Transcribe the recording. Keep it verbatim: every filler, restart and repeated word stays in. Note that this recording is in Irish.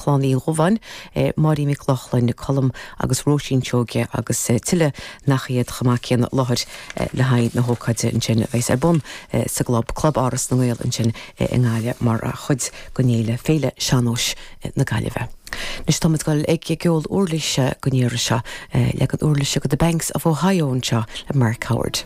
Chlann Uí Dhubháin, Máirín Nic Lochlainn, Colm agus Róisín Seoige agus tuilleadh nach iad chomh maith céanna láthair le haghaidh na hócáide ansin a bheas ar bun sa gclub Club Áras na nGael ansin i nGaillimh mar chuid den fhéile Féile Sean-Nóis na Gaillimhe. Anois táimid ag dul ag ceol uirlise don iarraidh seo leagan uirlise de The Banks of Ohio anseo le Mark Howard.